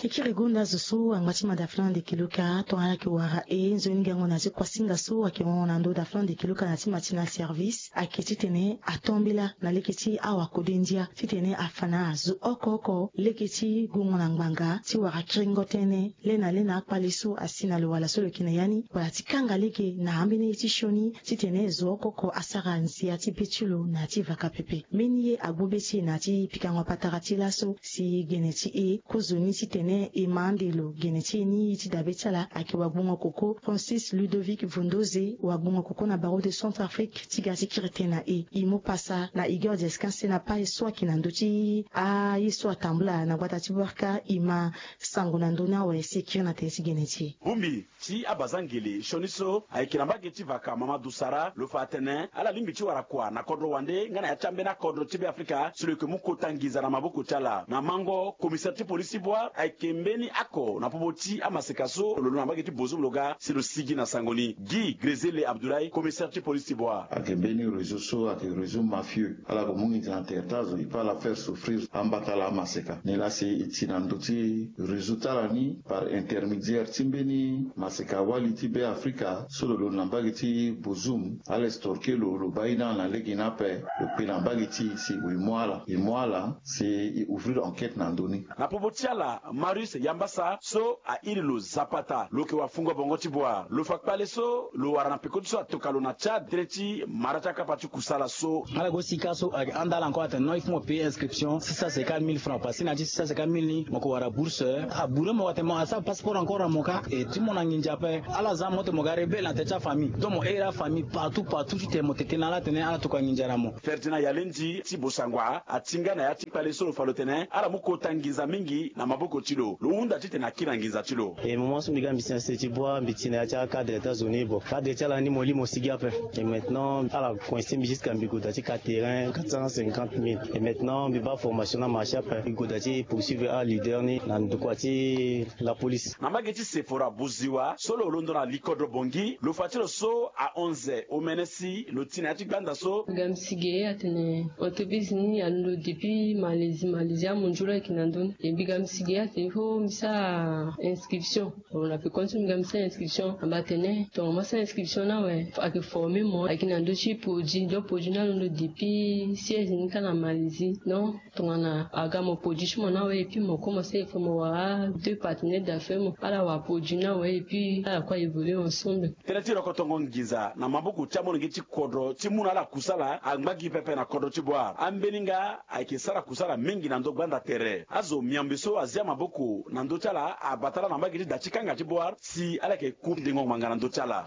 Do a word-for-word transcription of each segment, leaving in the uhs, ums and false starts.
Kekere gonda zo so angba ti ma daflan de kiluka tongana ala yeke wara e nzoni gango na ti kuasinga so ayeke hon na ndö daflan de kiluka na ti ma ti na service ayeke titene atombela na lege ti awakode ndia titene afa na azo oko oko lege ti gongo na ngbanga ti wara kiringo tënë le na le na akpale so asi na lo wala so lo yeke na ya ni wala ti kanga lege na ambeni ye ti sioni titene zo oko oko asara nzia ti be ti lo na ya ti vaka pepe. Mbeni ye agbu be ti e na ya ti pikango patara ti laso si gene ti e kozoni titene e ma ande lo gene ti e ni ye ti dabe ti ala ayeke wagbongo koko Francis Ludovic Vondoze wagbongo koko na barreau de Centrafrique ti ga ti kiri tënë na e. E mu pasa na Igor Desquin Senapai so ayeke na ndö ti aye so atambula na gbata ti Bouarka e ma sango na ndö ni awe si e kiri na tere ti gene ti e. Bongbi ti abazangele sioni so ayeke na mbage ti vaka Mamadou Sara lo fa atene ala lingbi ti wara kua na kodro wande nga na ya ti ambeni akodro ti Beafrika si lo yeke mu kota nginza na maboko ti ala. Na mango, komisere ti polisi ti Bouar ayeke mbeni oko na popo ti amaseka so lo londo na mbage ti Bozoum lo ga si lo sigi na sango ni. Guy Grezele Abdoulaye, komisere ti polisi ti Bouar. Ayeke mbeni réseau so ayeke réseau mafieux. Ala yeke mu nginza na tere ti azo, e peut ala faire souffrir amba ti ala amaseka. Nilaa si e ti na ndö ti réseau ti ala ni par intermédiaire ti mbeni maseka wali ti Beafrika so lo londo na mbage ti Bozoum, ala extorquer lo, lo baa e na ala na lege ni ape, lo kpe na mbage ti e si e mu ala, e mu ala si e ouvrir enquête na ndö ni. Na popo ti ala, Marius Yambasa so a iri lo Zapata, lo yeke wafungo bongo ti Bouar, lo fa kpale so lo wara na peko ti so atoka lo na Tchad tënë ti mara ti akapa ti kusala so. Ala go sika so ayeke handa ala encore atene non, il faut mo payer inscription six cent cinquante mille francs, parce que na ya ti six cent cinquante mille ni mo yeke wara bourse. Abouré mo atene mo asara passeport encore na mo kâ. E ti mo na nginza ape. Ala za mo ti mo ga rebelle na tere ti afamille, donc mo iri afamille partout partout titene mo tete na ala atene ala tokua nginza na mo. Ferdinand Yalendi ti Bossangoa atinga na ya ti kpale so lo fa lo tene ala mu kota nginza mingi na maboko ti lo. Lo hunda titene akiri na nginza ti lo. E moment so mbi ga mbi si na sese ti Bouar, mbi ti na ya ti acadre ti azo ni. Bon, cadre ti ala ni mo li mo sigi ape. Et maintenant ala coincer mbi jusqu'à mbi gue daa ti ka terrain quatre cent cinquante mille. Et maintenant mbi baa formation na marché ape, mbi gue daa ti poursuivre aleader ni na ndokua ti la police. Na mbage ti Sephora Bouziwa so lo londo na likodro Bangui, lo fa ti lo so ahon ze omene si lo ti na ya ti gbanda so. Mbi ga mbi si ge atene entreprise ni alondo depuis Malaisie, Malaisie amondio lo ayeke na ndö ni. E mbi ga mbi si ge atene il faut mbi sara inscription. Bon, na peko ni so mbi ga mbi sara inscription, amba atene tongana mo sara inscription ni awe, ayeke former mo ayeke na ndö ti produit, donc produit ni alondo depuis siège ni kâ na Malaisie. Donc tongana aga mo produit ti mo ni awe, et puis mo kue mo sara, il faut mo wara deux partenaires d'affaires, mo ala wara produit ni awe, et puis ala kue a évoluer ensemble. Tënë ti rokotongo nginza na maboko ti amolenge ti kodro ti mu na ala kusala angba gi pepe na kodro ti Bouar. Ambeni nga ayeke sara kusala mingi na ndö gbanda tere. Azo miambe so azia maboko na ndö ti ala abata ala na mbage ti da ti kanga ti Bouar si ala yeke ku ndengo ngbanga na ndö ti ala.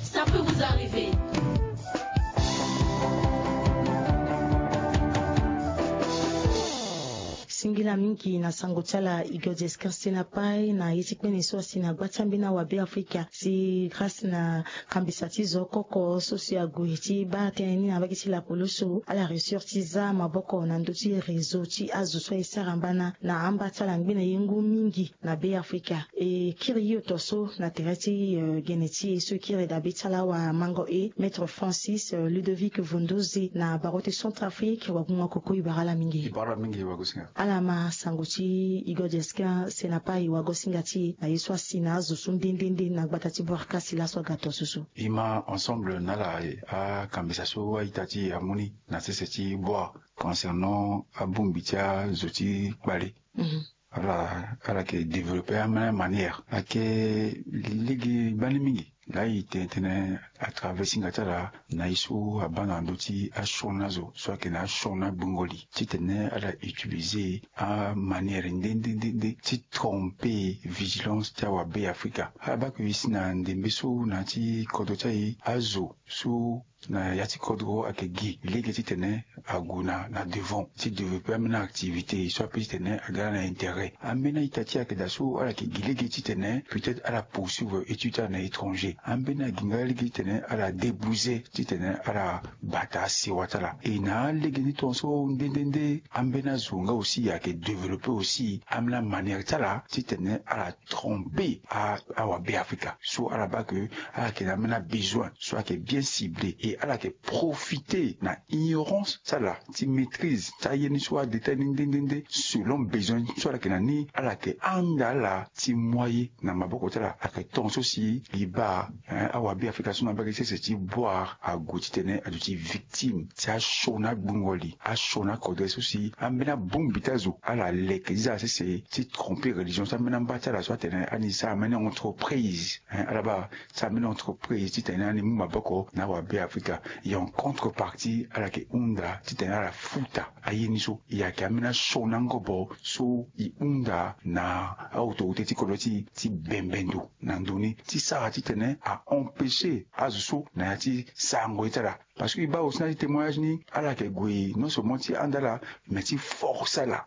Ça peut vous arriver. Singila mingi na sango ti ala Igor Desquin Senapai na ye ti kpene so asi na gba ti ambeni awabe Afrika si grâce na kambisa ti zo oko oko so si ague ti baa tënë ni na mbage ti lapolo so ala réussir ti za maboko na ndö ti réseau ti azo so aye sara mbana na amba ti ala ngbene ye ngu mingi na Beafrika. E kiri hio to so na tere ti, eh, gene ti e so e kiri dabe ti ala awamango e, Maître Francis, eh, Ludovic Vondoze na barreau ti Centrafrique, wagungo koko e bara ala mingi. E bara ala mingi wagosinga. Ala ma sango ti Igor Desquin Senapai wagosinga ti e na ye so asi na azo so nde nde nde na gbata ti Bouarka si laso aga to so so. E ma ensemble na ala akambisa so a-ita ti e amu ni na sese ti Bouar concernant abongbi ti azo ti kpale. Mhm. Ala, ala yeke développer amanière ayeke lege gbani mingi. Laa e tene tënë à travers singa ti ala na ye so abaa na ndö ti asioni azo so ayeke na asioni agbongo li titene ala utiliser amanière nde nde nde nde ti tromper vigilance ti awabe Afrika. Ala baa ke e si na ndembe so na ya ti kodro ti aye azo so na ya ti kodro ayeke gi lege titene ague na, na devant ti développer ambeni activité so ape titene aga na intérêt. Ambeni a-ita ti e ayeke daa so ala yeke gi lege titene peut-être ala poursuivre étude ti ala na étranger. Ambeni agi nga lege titene ala débouser titene ala bata asewa ti ala. E na alege ni tongaso nde nde nde ambeni azo nga aussi ayeke développer aussi ambeni amanière ti ala titene ala tromper a, awabe Afrika so ala baa ke ala yeke na ambeni abesoin so ayeke bien ciblé et Ala yeke profite na ignorance ti ala ti maîtrise ti aye ni so adétail ni nde nde nde selon besoin so ala yeke na ni. Ala yeke handa ala ti mu aye na maboko ti ala. Ayeke tongaso si e baa awabe afrika so na mbage sese ti boire ague titene aduti victime ti asioni agbungo li, asioni akodre so si ambeni abongbi ti azo ala leke ti za sese ti tromper religion so ambeni amba ti ala so atene ani sara ambeni entreprise. Ala baa sara ambeni entreprise titene ani mu maboko na awabe afrika. E en contrepartie ala yeke hunda titene ala futa aye ni so. E yeke ambeni asioni angobo so e hunda na aautorité ti kodro ti ti bembe ndo na ndo ni ti sara titene a empêcher azo so na ya ti sarango ye ti ala. Parce que e baa aussi na ya ti témoignage ni ala yeke gue non seulement ti handa ala mais ti force ala.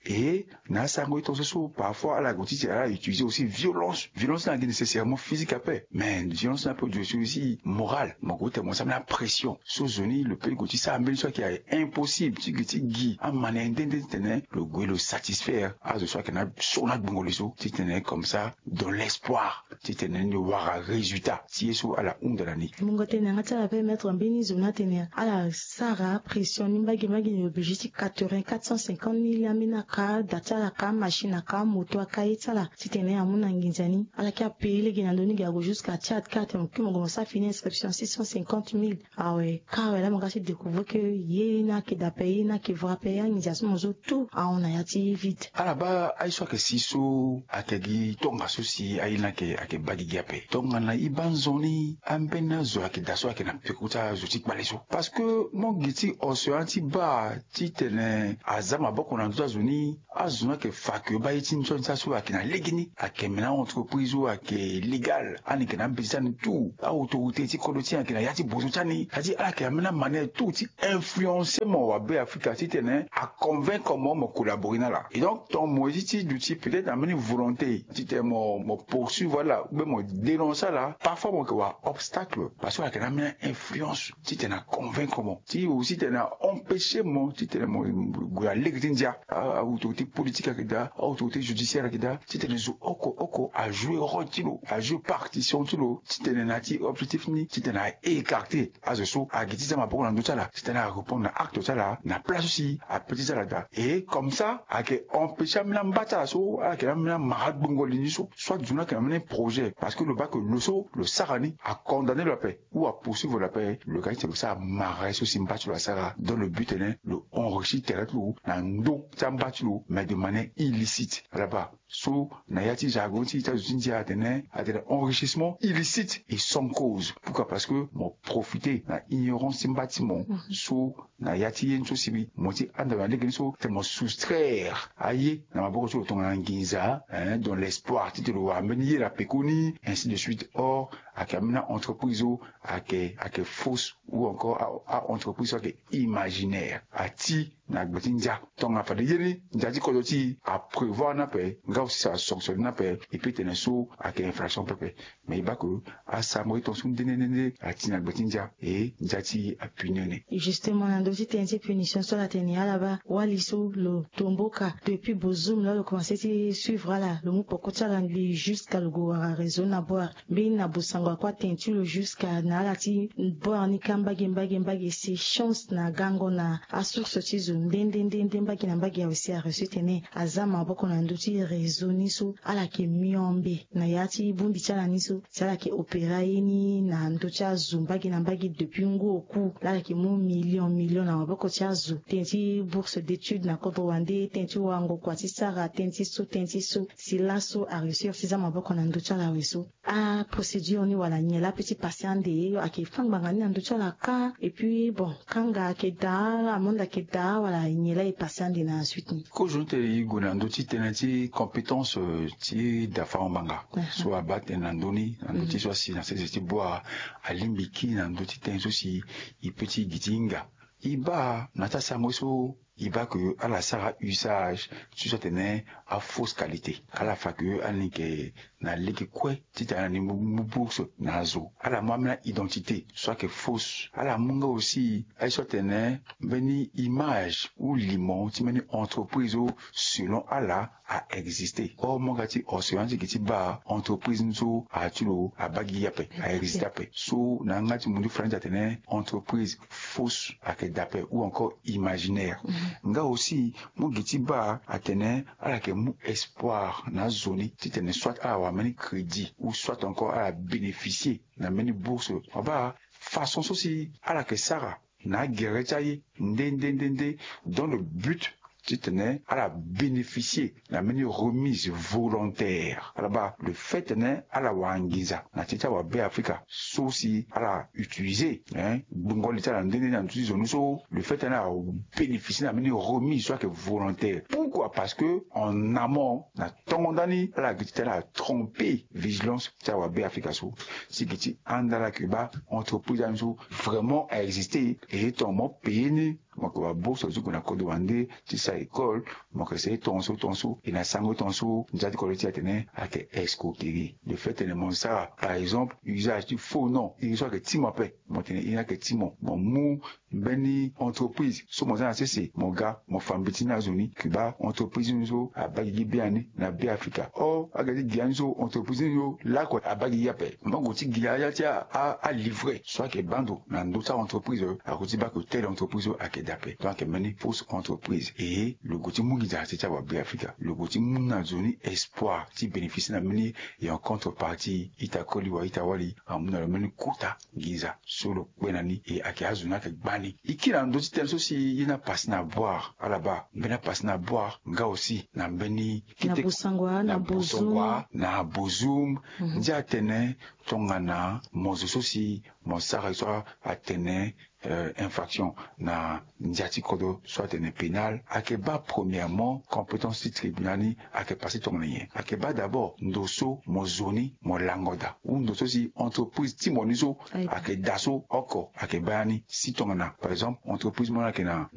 Et na asango ye tongaso so parfois ala gue ti tene ala utiliser aussi violence. Violence ni ayeke nécessairement physique ape, mais violence ni ape gue aussi morale. Mo gue ti tene mo sara ambeni apression so zo ni lo peut gue ti sara mbeni so ayeke impossible ti gue ti gi amanière nde nde titene lo gue lo satisfaire azo so ayeke na so na gbongo li so titene comme ça dans l'espoir titene ni wara résultat ti ye so ala hunda na ni. Mungo tene yanga ti ala permettre mbeni zo ni atene ala sara pression ni mbage mbage ni obligé ti quatre-vingt, quatre cent cinquante mille ambeni aka da ti ala aka machine aka moto aka ye ti ala titene amu na nginza ni. Ala ke apayer lege na ndo ni ge ague jusqu'à Tchad ka atene mo kue mo gue mo sara fini inscription six cent cinquante mille. Awe ka awe laa mo ga ti découvrir que ye ni ayeke da ape ye ni ayeke vrai ape anginza so mo zo tout ahon na ya ti vide. Ala baa aye so ayeke si so ayeke gi tongaso si aye ni ayeke ayeke baa gigi ape. Tongana e baa nzoni ambeni azo ayeke da so ayeke na peko ti azo ti kpale so. Parce que mo gi ti océan ti baa titene aza maboko na ndö ti azo ni. Azo ni ayeke fa ke baa ye ti ni so ni sara so ayeke na legeni ayeke mena entreprise so ayeke légal ani yeke na ambeti ti ani tout. Aautorité ti kodro ti ani ayeke na ya ti bozo ti ani. C'est-à-dire ala yeke na ambeni amanière tout ti influencer mo wa Be Afrika titene aconvaincre mo mo collaborer na ala. Et donc ton mo ye ti ti duti peut-être na mbeni volonté titene mo mo poursuivre ala ou bien mo dénoncer ala. Parfois mo yeke wa obstacle parce que ala yeke na ambeni influence titene aconvaincre mo ti aussi titene aempêcher mo titene mo gue na lege ti ndia. Aautorité politique ayeke daa, aautorité judiciaire ayeke daa titene zo oko oko ajouer rôle ti lo, ajouer partition ti lo titene na ya ti objectif ni titene aécarter azo so ayeke ti za maboko na ndö ti ala titene arépondre na acte ti ala na place so si ape ti za ala daa. Et comme ça ayeke empêcher ambeni amba ti ala so ala yeke na ambeni amara gbongo li ni so soit zo ni ayeke na ambeni projet parce que lo baa ke lo so lo sara ni acondamner lo ape ou apoursuivre lo ape. Lo ga ti tene lo sara mara ye so si mba ti lo asara dans le but tene lo enrichir tere ti lo na ndö ti amba ti lo mais de manière illicite. Ala baa so na ya ti jargon ti ti azo ti ndia atene atene enrichissement illicite et sans cause. Pourquoi? Parce que mo profiter na ignorance ti mba ti mo so na ya ti ye ni so si mo ti handa lo na lege ni so titene mo soustraire aye na maboko ti lo tongana nginza hein, dans l'espoir titene lo wara mbeni ye na pekoni ainsi de suite. Or ayeke ambeni aentreprise so ayeke ayeke fausse ou encore aentreprise so ayeke imaginaire. Ati na gbe ti ndia tongana fade ye ni ndia ti kodro ti e aprévoir ni ape nga aussi ça sanctionne ni ape. E peut tene so ayeke infraction pepe. Mais e baa ke asango ye tongaso nde nde nde nde ati na gbe ti ndia e ndia ti e apuni ni. Justement na ndö ti tënë ti punition so ala tene ala baa wali so lo tomboka depuis Bozoum laa lo commencer ti suivre ala lo mu poko ti ala ngbii jusqu'à lo gue wara réseau na boire mbeni na bosango akua tene ti lo jusqu'à na ala ti boire ni ka mbage mbage mbage. C'est chance na gango na asource ti zo nde nde nde nde mbage na mbage awe si areçu tene aza maboko na ndö ti réseau ni so ala yeke miombe na ya ti bongbi ti ala ni so si ala yeke opérer aye ni na ndö ti azo mbage na mbage depuis ngu oku laa ala yeke mu million million na maboko ti azo tënë ti bourse d'étude na kodro wande tënë ti wango kua ti sara tënë ti so tënë ti so si laso areusir ti za maboko na ndö ti ala awe so. Aprocédure ni wala nyen laa ape ti pase ande ayeke fâ ngbanga ni na ndö ti ala ka? Et puis bon kanga ayeke daa amende ayeke daa wala nyen laa e pase ande na suite ni? Kozo ni tene e gue na ndö ti tënë ti compétence ti dafa ngbanga so abaa tënë na ndö ni na ndö ti so asi na sese ti boire alingbi kiri na ndö ti tënë so si e peut ti gi ti hinga. E baa na ti asango ye so e baa ke ala sara usage ti so atene afausse qualité. Ala fa ke ala ni ke na lege kue titene ala ni mu bourse na azo. Ala mu ambeni aidentité so ayeke fausse. Ala mu nga aussi aye so atene mbeni image ou limo ti mbeni entreprise so selon ala a existe. Or mo ga ti océan ti gi ti baa entreprise ni so a ti lo abaa gi ape, a existe ape. So na yanga ti mundu fara ni ti atene entreprise fausse ayeke daa ape ou encore imaginaire. Nga aussi mo gi ti baa atene ala yeke mu espoir na azo ni titene soit ala wara mbeni crédit ou soit encore ala bénéficier na mbeni bourse. Mo baa façon so si ala yeke sara na agere ti aye nde nde nde nde dans le but titene ala bénéficier na mbeni remise volontaire. Ala baa le fait tene ala wara nginza na ti ti awabe afrika so si ala utiliser gbungo li ti ala nde nde na ndö ti zo ni so, le fait tene ala bénéficier na mbeni remise so ayeke volontaire. Pourquoi? Parce que en amont na tongo ndani ala gi titene ala tromper vigilance ti awabe afrika so si gi ti handa ala yeke baa entreprise ani so vraiment a existe. E ton mo payer ni, mo yeke wa bourse ti gue na kodro wande ti sara école, mo yeke sara ye tongaso tongaso e na sango tongaso ndia ti kodro ti atene ayeke escroquerie. Le fait tene mo sara par exemple usage ti faux nom, iri so ayeke ti mo ape, mo tene iri ni ayeke ti mo, mo mu mbeni entreprise so mo za na sese mo ga mo fa mbeti ni azo ni ke baa entreprise ni so abaa gigi biani na be afrika. Or aga ti gi ani so entreprise ni so lakue abaa gigi ape. Mo gue ti gi aya ti alivret so ayeke baa ndo na ndö ti aentreprise, ague ti baa ke telle entreprise so ayeke daa ape. Donc ayeke mbeni fausse entreprise. E lo gue ti mu nginza na se ti awabe afrika, lo gue ti mu na zo ni espoir ti bénéficier na mbeni. Et en contrepartie ita koli wa ita wali amu na lo mbeni kota nginza so lo kpe na ni. E ayeke azo ni ayeke gbani. E kiri na ndö ti tënë so si ye ni apase na boire ala baa mbeni apase na boire nga aussi na mbeni kete na bosangwa na bozum. Ndia atene tongana mo zo so si mo sara ye so atene infraction na ndia ti kodro so atene pénal ayeke baa premièrement compétence ti tribunal ni ayeke pase tongana nyen? Ayeke baa d'abord ndo so mo zo ni mo lango daa ou ndo so si entreprise ti mo ni so ayeke daa so oko ayeke baa ya ni si tongana par exemple entreprise mo ni ayeke na